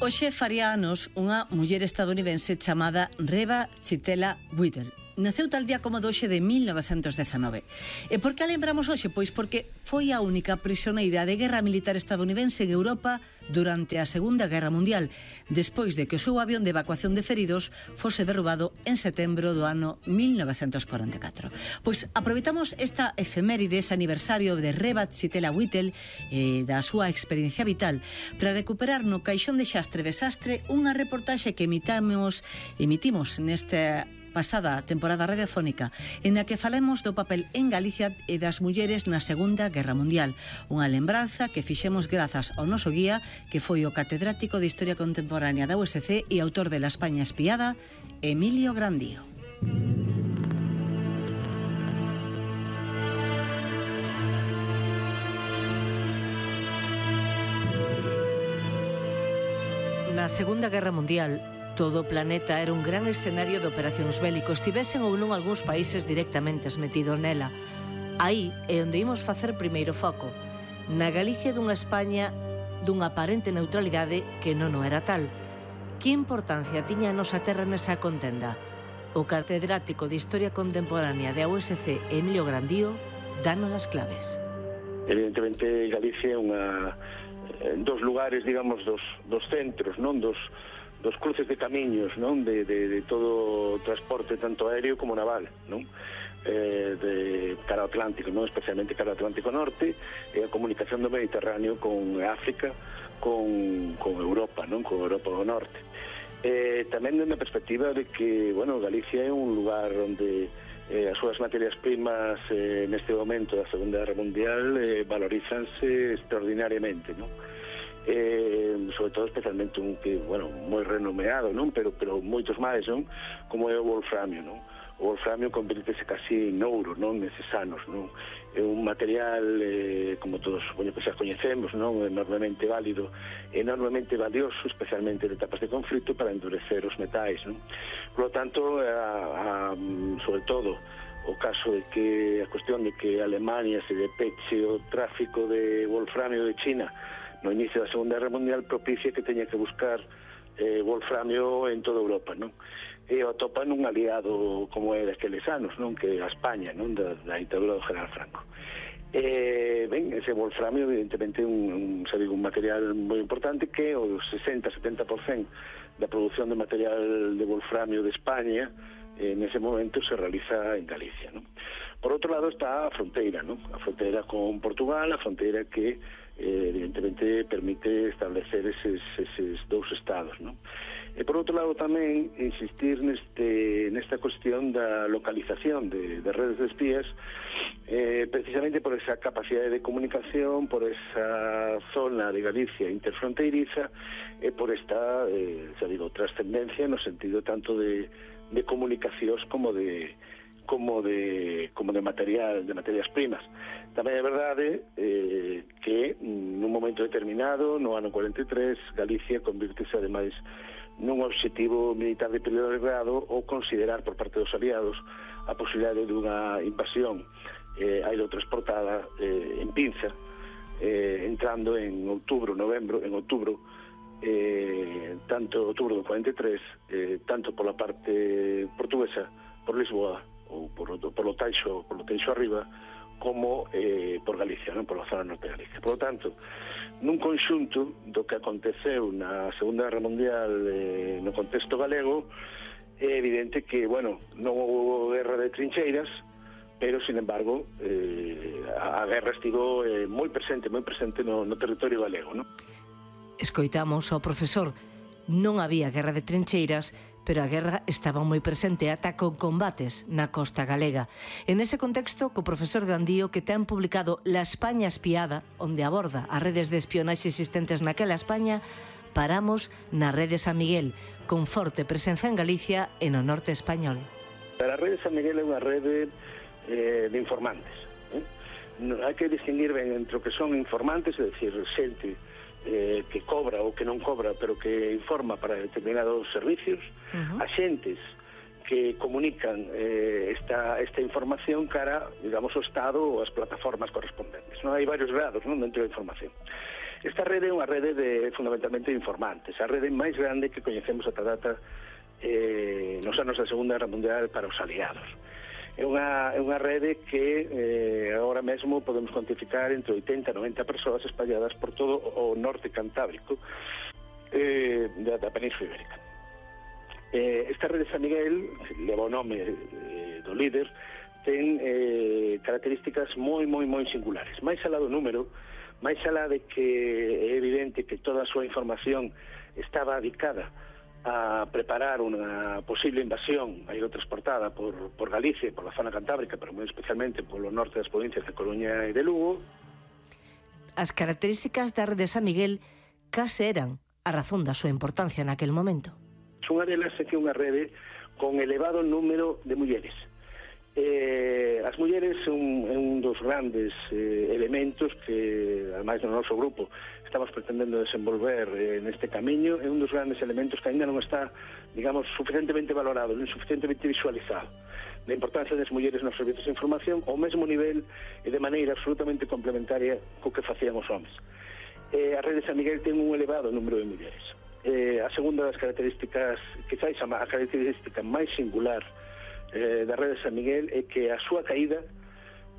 Hoxe faría anos unha muller estadounidense chamada Reba Chitela Whittle. Naceu tal día como doxe de 1919. E por que a lembramos hoxe? Pois porque foi a única prisioneira de guerra militar estadounidense en Europa durante a Segunda Guerra Mundial, despois de que o seu avión de evacuación de feridos fose derrubado en setembro do ano 1944. Pois aproveitamos esta efeméride, ese aniversario de Reba Chitela Whittle e da súa experiencia vital para recuperar no caixón de xastre desastre unha reportaxe que emitimos nesta pasada temporada radiofónica en a que falemos do papel en Galicia e das mulleres na Segunda Guerra Mundial, unha lembranza que fixemos grazas ao noso guía, que foi o catedrático de Historia Contemporánea da USC e autor de La España espiada, Emilio Grandío. Na Segunda Guerra Mundial, todo o planeta era un gran escenario de operacións bélicos, tivesen ou non algúns países directamente metidos nela. Aí é onde imos facer primeiro foco, na Galicia dunha España dunha aparente neutralidade que non o era tal. Que importancia tiña a nosa terra nesa contenda? O catedrático de Historia Contemporánea da USC, Emilio Grandío, danos as claves. Evidentemente, Galicia é dos lugares, digamos, dos centros, non dos cruces de camiños, non, de todo o transporte tanto aéreo como naval, non, de cara ao Atlántico, non, especialmente cara ao Atlántico Norte, e a comunicación do Mediterráneo con África, con Europa, non, con Europa do Norte. Tamén na perspectiva de que, bueno, Galicia é un lugar onde as súas materias primas neste momento da Segunda Guerra Mundial valorízanse extraordinariamente, non? Sobre todo especialmente un que, bueno, moi renomeado, non, pero moitos máis, non, como é o wolframio, non. O wolframio convértese casi en ouro, non, neses anos, non. É un material, como todos xa coñecemos, non, enormemente válido, enormemente valioso, especialmente en etapas de conflito, para endurecer os metais, non. Por lo tanto, sobre todo, o caso de que a cuestión de que Alemania se depeche o tráfico de wolframio de China no inicio da Segunda Guerra Mundial propicia que teña que buscar wolframio en toda Europa, non? E o atopan un aliado como é daqueles anos, non? Que é a España, non? Da ditadura do General Franco. Ben, ese wolframio evidentemente é un material moi importante que o 60-70% da produción de material de wolframio de España nese momento se realiza en Galicia, non? Por outro lado está a fronteira, non? A fronteira con Portugal, a fronteira que evidentemente permite establecer eses dous estados, non? E por outro lado tamén insistir nesta cuestión da localización de redes de espías, precisamente por esa capacidade de comunicación, por esa zona de Galicia interfronteiriza e por esta, trascendencia no sentido tanto de comunicacións como de materias primas. Tamén é verdade que nun momento determinado, no ano 43, Galicia convírtese ademais nun obxectivo militar de primeiro grado ou considerar por parte dos aliados a posibilidade dunha invasión aerotransportada en pinza, entrando en outubro, tanto outubro do 43, tanto pola parte portuguesa, por Lisboa, ou por lo Taixo arriba, como por Galicia, non, por a zona norte de Galicia. Por lo tanto, nun conxunto do que aconteceu na Segunda Guerra Mundial no contexto galego, é evidente que, bueno, non houve guerra de trincheiras, pero, sin embargo, a guerra estivo moi presente no territorio galego, non? Escoitamos ao profesor. Non había guerra de trincheiras, pero a guerra estaba moi presente ata con combates na costa galega. En ese contexto, co profesor Grandío, que ten publicado La España espiada, onde aborda as redes de espionaxe existentes naquela España, paramos na rede San Miguel, con forte presenza en Galicia e no norte español. A rede San Miguel é unha rede de informantes. Hai que distinguir ben entre o que son informantes, é dicir, xente que cobra ou que non cobra, pero que informa para determinados servicios, axentes que comunican esta información cara, digamos, ao Estado ou as plataformas correspondentes. Non hai varios grados, non, dentro da información. Esta rede é unha rede fundamentalmente de informantes, a rede máis grande que coñecemos ata data nos anos da Segunda Guerra Mundial para os aliados. É unha rede que agora mesmo podemos cuantificar entre 80 e 90 persoas espalladas por todo o norte cantábrico da Península Ibérica. Esta rede de San Miguel, que leva o nome do líder, ten características moi singulares. Mais alá do número, máis alá de que é evidente que toda a súa información estaba dedicada a preparar unha posible invasión aerotransportada por Galicia, por la zona cantábrica, pero moi especialmente polo norte das provincias de Coruña e de Lugo. As características da rede de San Miguel case eran a razón da súa importancia naquel momento. Unha delas é que unha rede con elevado número de mulleres. As mulleres son un dos grandes elementos que, ademais do noso grupo, estamos pretendendo desenvolver neste camiño. É un dos grandes elementos que ainda non está, digamos, suficientemente valorado, non suficientemente visualizado, da importancia das mulleres nos servizos de información ao mesmo nivel e de maneira absolutamente complementaria co que facían os homens. A rede de San Miguel ten un elevado número de mulleres. A segunda das características, quizás a característica máis singular da rede de San Miguel, é que a súa caída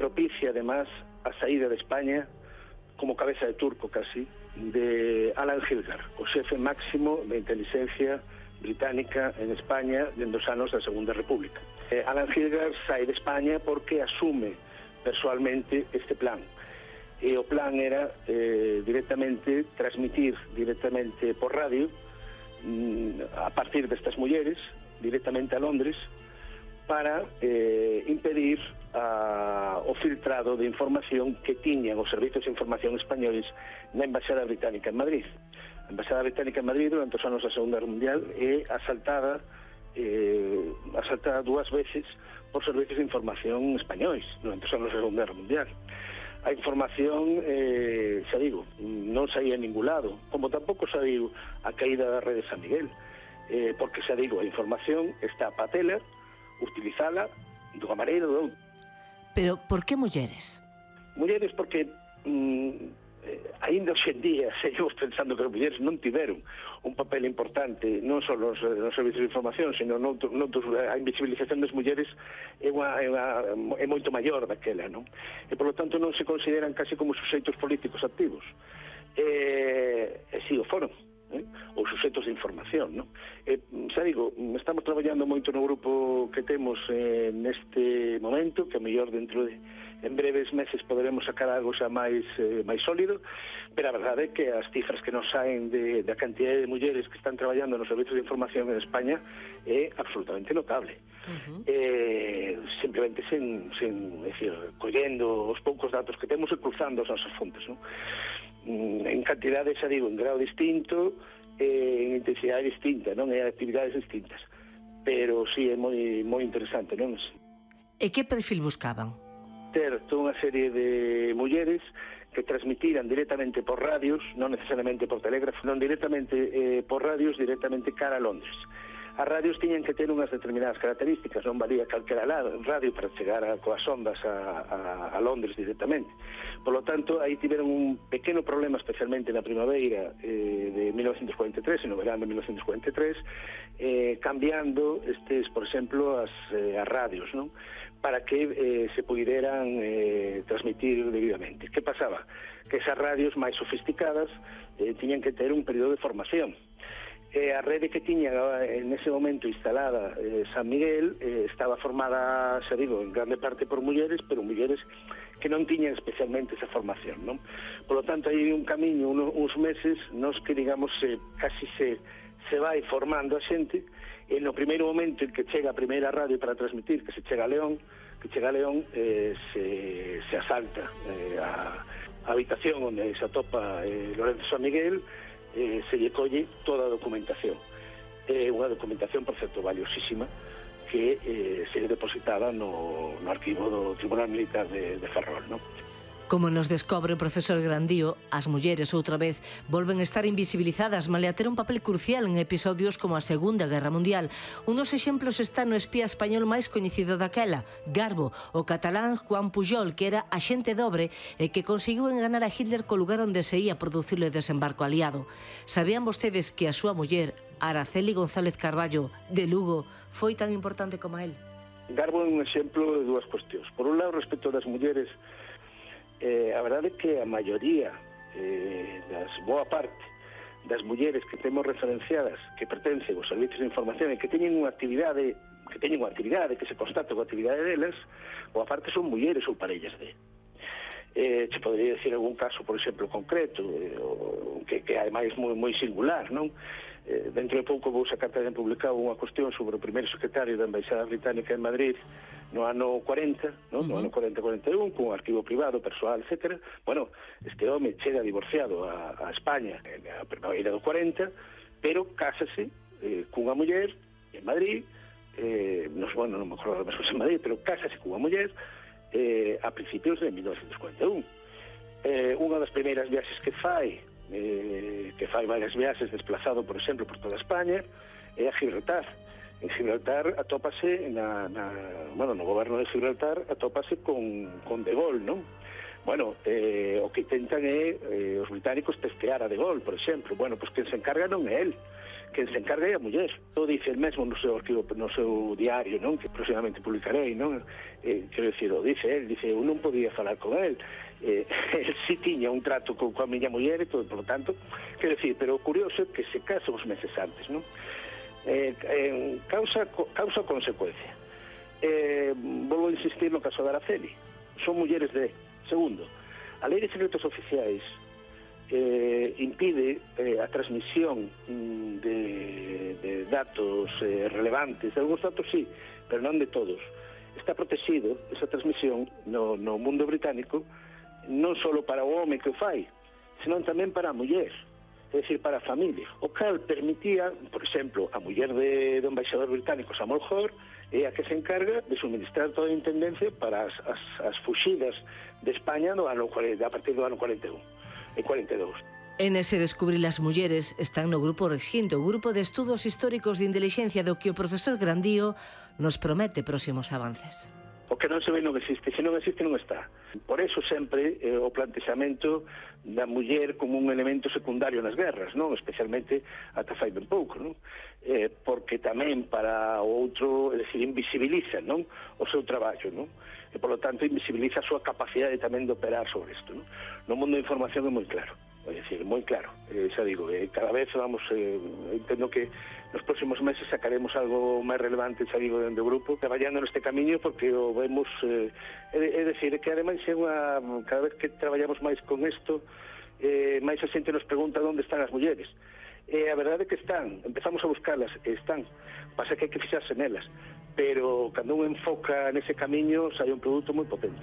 propicia además a saída de España como cabeza de turco casi de Alan Hilgar, o xefe máximo de inteligencia británica en España dentro dos anos da Segunda República. Alan Hilgar sai de España porque asume persoalmente este plan, e o plan era directamente transmitir directamente por radio a partir destas mulleres directamente a Londres para impedir o filtrado de información que tiñan os servizos de información españoles na Embaixada Británica en Madrid. A Embaixada Británica en Madrid durante os anos da Segunda Guerra Mundial é asaltada dúas veces por servizos de información españois durante os anos da Segunda Guerra Mundial. A información, xa digo, non saía en ningún lado, como tampouco saiu a caída da rede de San Miguel, porque xa digo, a información está a patela, utilizala dunha maneira ou doutra. Pero por que mulleres? Mulleres porque ainda hoxe en día seguimos pensando que as mulleres non tiveron un papel importante non só nos servizos de información, sino a invisibilización das mulleres é moito maior daquela, non? E por lo tanto non se consideran casi como suxeitos políticos activos, e si o foron, ou suxeitos de información, non? Xa digo, estamos traballando moito no grupo que temos neste momento, que a mellor dentro de en breves meses poderemos sacar algo xa máis sólido, pero a verdade é que as cifras que nos saen da cantidad de mulleres que están traballando nos servizos de información en España é absolutamente notable. Simplemente collendo os poucos datos que temos e cruzando as nosas fontes, non? En cantidade, xa digo, en grado distinto, en intensidade distinta, non? E actividades distintas, pero sí, é moi interesante, non? E que perfil buscaban? Ter toda unha serie de mulleres que transmitiran directamente por radios, non necesariamente por telégrafo, non directamente por radios, directamente cara a Londres. As radios tiñan que ter unhas determinadas características, non valía calquera radio para chegar coas ondas a Londres directamente. Por lo tanto, aí tiveron un pequeno problema, especialmente na primavera de 1943, e no verano de 1943, cambiando por exemplo, as radios, non? Para que se puderan transmitir debidamente. Que pasaba? Que esas radios máis sofisticadas tiñan que ter un período de formación. A rede que tiña en ese momento instalada San Miguel estaba formada, xa digo, en grande parte por mulleres, pero mulleres que non tiñan especialmente esa formación, non? Por lo tanto, hai un camiño, uns meses, nos que, digamos, casi se vai formando a xente, e no primeiro momento en que chega a primeira radio para transmitir, que chega a León, se asalta a habitación onde se atopa Lorenzo San Miguel, se lle colle toda a documentación. Unha documentación, por certo, valiosísima, que se depositada no arquivo do Tribunal Militar de Ferrol, non? Como nos descobre o profesor Grandío, as mulleres outra vez volven a estar invisibilizadas, malia ter un papel crucial en episodios como a Segunda Guerra Mundial. Un dos exemplos está no espía español máis coñecido daquela, Garbo, o catalán Juan Pujol, que era axente dobre e que conseguiu enganar a Hitler co lugar onde se ia producir o desembarco aliado. Sabían vostedes que a súa muller, Araceli González Carballo, de Lugo, foi tan importante como él? Garbo é un exemplo de dúas cuestións. Por un lado, respecto das mulleres, a verdade é que a maioría, boa parte das mulleres que temos referenciadas, que pertencen aos servicios de información e que teñen unha actividade, que se constata coa actividade delas, boa parte son mulleres ou parellas de. Se podría decir algún caso, por exemplo, concreto, que ademais moi singular, non? Dentro de pouco vou sacar tamén publicado unha cuestión sobre o primeiro secretario da Embaixada Británica en Madrid no ano 40, no ano 40-41, con arquivo privado, persoal, etc. Bueno, este home chega divorciado a España a primavera do 40, pero cásase cunha muller en Madrid, non me acordo mesmo en Madrid, pero cásase cunha muller a principios de 1941. Unha das primeiras viaxes que fai varias viaxes desplazado, por exemplo, por toda España, é a Gibraltar. En Gibraltar atópase no goberno de Gibraltar atópase con De Gaulle, non? Bueno, o que intentan é os británicos testear a De Gaulle, por exemplo. Bueno, pois quen se encarga non é el, quen se encarga é a muller. O dice el mesmo no seu arquivo, no seu diario, non? Que próximamente publicarei, non? Quero dicir, o dice el, dice, eu non podía falar con el. El sí tiña un trato coa miña muller e todo, por lo tanto, quero dicir, pero o curioso é que se casa uns meses antes, non? Causa consecuencia. Volvo a insistir no caso de Araceli. Son mulleres de... Segundo, a lei de secretos oficiais impide a transmisión de datos relevantes. De algúns datos sí, pero non de todos. Está protegido esa transmisión no mundo británico non só para o home que o fai, senón tamén para a muller, é dicir, para a familia. O cal permitía, por exemplo, a muller do embaixador británico Samuel Hoare é a que se encarga de suministrar toda a intendencia para as fuxidas de España a partir do ano 41 e 42. En ese descubrir as mulleres están no grupo Rexinto, o grupo de estudos históricos de intelixencia do que o profesor Grandío nos promete próximos avances. O que non se ve non existe, se non existe non está. Por eso sempre o plantexamento da muller como un elemento secundario nas guerras, non? Especialmente ata fai ben pouco, non? Porque tamén para o outro, é dicir, invisibiliza, non? O seu traballo, non? E, por lo tanto, invisibiliza a súa capacidade tamén de operar sobre isto, non? No mundo da información é moi claro. É dicir, moi claro, xa digo, cada vez vamos, entendo que nos próximos meses sacaremos algo máis relevante, xa digo, dentro do grupo, traballando neste camiño, porque o vemos, é dicir, que ademais é cada vez que traballamos máis con isto, máis a xente nos pregunta onde están as mulleres. A verdade é que están, empezamos a buscarlas, están, pasa que hai que fixarse nelas, pero cando un enfoca nese camiño, sai un produto moi potente.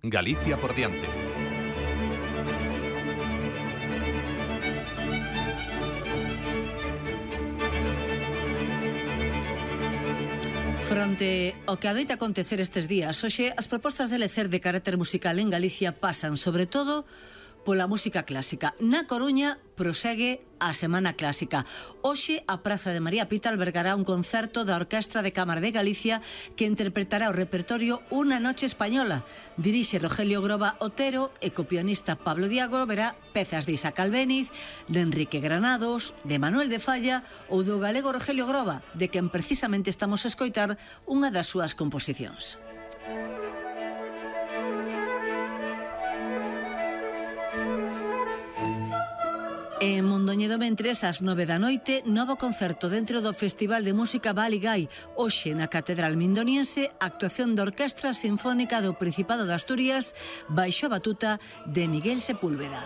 Galicia por diante. Fronte ao que adoita acontecer estes días, hoxe as propostas de lecer de carácter musical en Galicia pasan, sobre todo, pola música clásica. Na Coruña prosegue a Semana Clásica. Hoxe a Praza de María Pita albergará un concerto da Orquestra de Cámara de Galicia que interpretará o repertorio Una noche española. Dirixe Rogelio Groba Otero e co pianista Pablo Diago verá pezas de Isaac Albéniz, de Enrique Granados, de Manuel de Falla ou do galego Rogelio Groba, de quen precisamente estamos a escoitar unha das súas composicións. En Mondoñedo Mentres, ás 9 da noite, novo concerto dentro do Festival de Música Baligay. Hoxe, na Catedral Mindoniense, actuación da Orquestra Sinfónica do Principado de Asturias baixo a batuta de Miguel Sepúlveda.